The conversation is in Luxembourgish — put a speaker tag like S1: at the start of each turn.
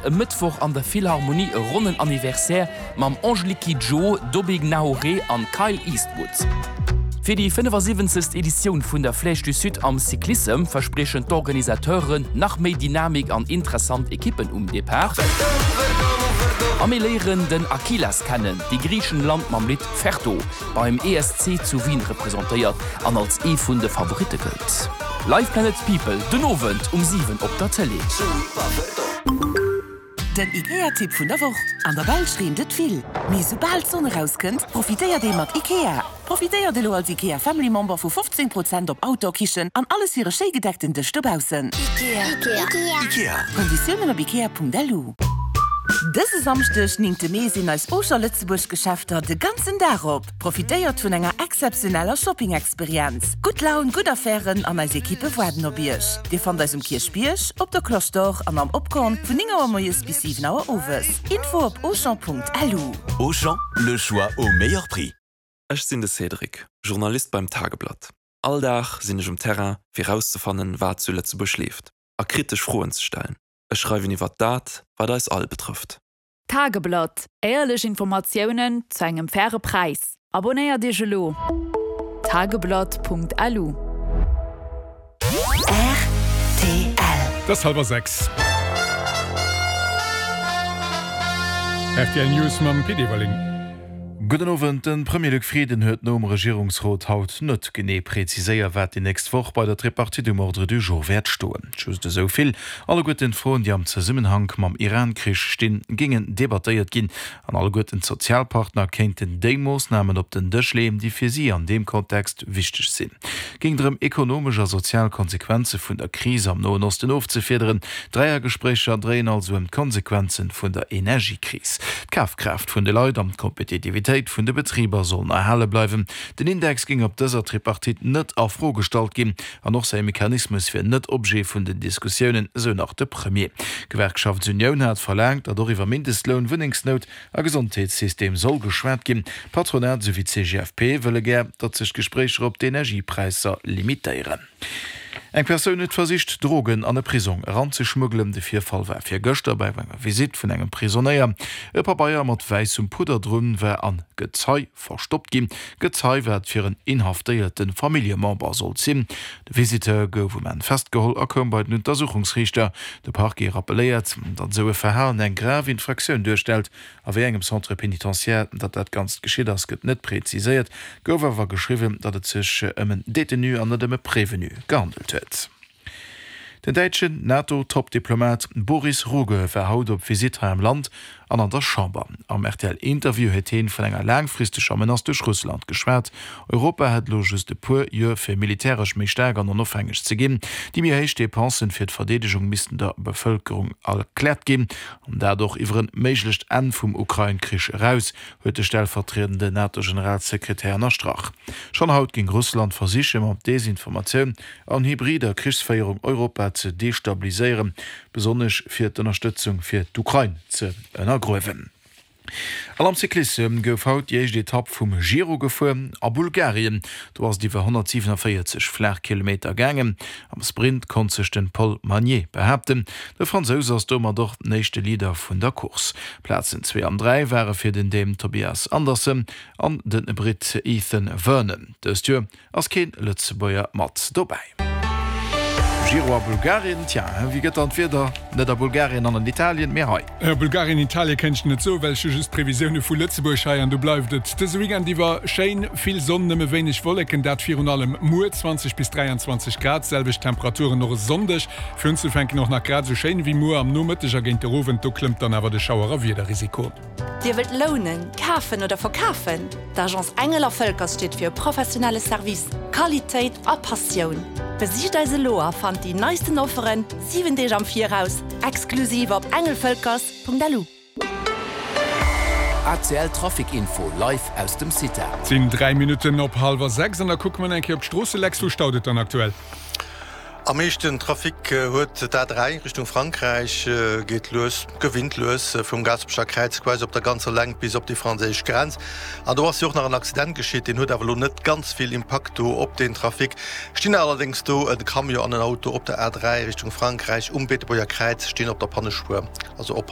S1: e Mëttwoch an der Philharmonie e ronnen Anniversaire mam Angélique Kidjo, Dobby Gnahoré an Kyle Eastwood. Fir déi 75. Editioun vun der Flèche du Sud am Cyclissem verspriechen d'Organisateuren nach méi Dynamik an interessant Ekippen um Depart. A mir léieren den Akilas kennen, dee Griichenland mam Lidd Ferto beim ESC zu Wien representéiert an als ee vun de Favoritte gëllt. Live Planet People den Owend um 7 op der Tëlee.
S2: Den IKEA-Tipp vun der Woch, An der Belsch reent et vill, mee soubal d'Sonn erauskënnt, profitéiert ee mat IKEA. Profitéiert elo als IKEA Family Member vu 15 Prozent op Outdoor-Kichen an alles fir e schéi gedeckten Dësch dobaussen. Konditiounen op ikea.lu. Dëse Samschdeg, 9 Mee, sinn eis Auchan Lëtzebuerg Geschäfter de ganzen Dag op. Profitéiert vun enger exzeptioneller Shopping-Experienz. Gutt Laun, gutt Affären an eis Ekippe waarden op Iech. Dir fannt eis um Kierchbierg, op der Cloche d'Or an am Opkorn vun 9 Auer moies bis 7 Auer owes. Info op auchan.lu.
S3: Auchan, le choix au meilleur prix.
S4: Ech sinn de Cédric, Journalist beim Tageblatt. All Dag sinn ech um Terrain, fir rauszefannen, wat zu Lëtzebuerg leeft a kritesch Froen ze stellen. Ech schreiwen iwwert dat, wat eis all betrëfft.
S5: Tageblatt, Éierlech Informatiounen zu engem faire Präis. Abonnéiert Iech elo! Tageblatt.lu.
S2: Rtl.
S6: Et ass hallwer 6. Rtl News mam Pit Everling.
S7: Gudden Owend. De Premier Luc Frieden huet nom Regierungsrot haut net genee präziséier, wat déi nächst Woch bei der Tripartite um Ordre du jour wäert stoen. Just esou vill, Alleguerten d'Froen, déi am Zesummenhank mam Iran-Krich stinn, géingen debattéiert ginn an alleguerten d'Sozialpartner kéinten déi Moossnamen op den Dësch leeën, déi fir si an deem Kontext wichteg sinn. Géing drëm, ekonomesch a sozial Konsequenze vun der Kris am Noen Osten ofzefiederen. D'Dräiergespréicher dréien also ëm d'Konsequenze vun der Energiekris. D'Kafkraaft vun de Leit an d'Kompetitivitéit vun de Betriber sollen erhale bleiwen. Den Index géing op dëser Tripartite net a Fro gestallt ginn an och säi Mechanismus wier net Objet vun den Diskussiounen, esou nach de Premier. D'Gewerkschaftsunioun hat verlaangt, datt och iwwer Mindestloun, Wunnengsnout a Gesondheetssystem soll geschwat ginn. D'Patronat esou wéi d'CGFP wëlle gär, datt sech d'Gespréicher op d'Energiepräisser limitéieren. Eng Persoun huet versicht, Drogen an e Prisong eranzeschmuggelen. De Virfall war virgëschter bei enger Visitt vun engem Prisonéier. E Pabeier mat wäissem Pudder drun war an Gezei verstoppt ginn. Gezei, wat fir en inhaftéierte Familljemember sollt sinn. De Visiteur gouf um Enn festgeholl a koum bei den Untersuchungsriichter. De Parquet rappelléiert, datt esou e Verhalen eng grav Infraktioun duerstellt. A wéi engem Centre pénitentiaire datt dat Ganzt geschitt ass, gëtt net preziséiert, gouf awer geschriwwen, datt et sech ëm en Détenu an net ëm e Prévenu gehandelt huet. Den däitschen NATO-Top-Diplomat Boris Rugge war haut op Visitt hei am Land an an der Chamber. Am RTL-Interview huet heen vun enger laangfristeger Menace duerch Russland geschwat. Europa hätt elo just e puer Joer fir militäresch méi staark an onofhängeg ze ginn. Déi méi héich Depensen fir d'Verdeedegung missten der Bevëlkerung erkläert ginn, an dat och iwwer en méiglecht Enn vum Ukrain-Krich eraus, huet de stellvertriedende NATO-Generalsekretär ënnerstrach. Schonn haut géing Russland versiche mat Desinformatioun an hybrider Krichsféierung Europa ze destabiliséieren, besonnesch fir d'Ënnerstëtzung fir d'Ukrain ze ënnergruewen. An am Cyclissem gouf haut déi éischt Etapp vum Giro gefuer a Bulgarien. Do ass et iwwer 147 Flaachkilometer gaangen. Am Sprint konnt sech den Paul Magnier behaapten. De Fransous ass domat och den éischte Leader vun der Course. Plazen 2 an 3 ware fir den Dän Tobias Andersen an de Britt Ethan Vernon. Dëst Joer Ass keen Lëtzebuerger mat dobäi. Giro a Bulgarien, tja, wéi gëtt dann d'Wieder? Net a Bulgarien an an Italien, mee hei.
S6: Bulgarien, Italien kéint ech net soen, well ech hu just d'Previsioune vu Lëtzebuerg hei an do bleift et dëse Weekend iwwer schéin, vill Sonn, nëmme wéineg Wolleken, dat virun allem muer, 20 bis 23 Grad, selwecht Temperaturen och e Sonndeg, fir unzefänken och nach grad esou schéin ewéi muer am Nomëtteg a géint der Owend, do klëmmt dann awer de Schauer a Wiederrisiko.
S8: Dir wëllt lounen, kafen oder verkafen? D'Agence Engel a Völkers steet fir e professionelle Service, Qualitéit a Passioun. Besicht eis elo a fannt déi neisten Offeren 7 Deeg am Viraus, exklusiv op engelvölkers.lu.
S3: ACL Trafic Info live aus dem CITA.
S6: Et sinn 3 Minutten op hallwer 6 an da kucke mer eng Kéier op d'Stroosse. Lex, wou staut et dann aktuell?
S9: Am meeschten Trafic huet d'A3 Richtung Frankräich, geet lues, gewinnt lues vum Gaasperecher Kräiz quasi op der ganzer Längt bis op déi franséisch Grenz. An do ass jo och nach en Accident geschitt, deen huet awer elo net ganz vill Impakt do op den Trafic. Stinn allerdéngs do e Camion an en Auto op der A3 Richtung Frankräich um Beetebuerger Kräiz, stinn op der Pannespuer, also oppassen.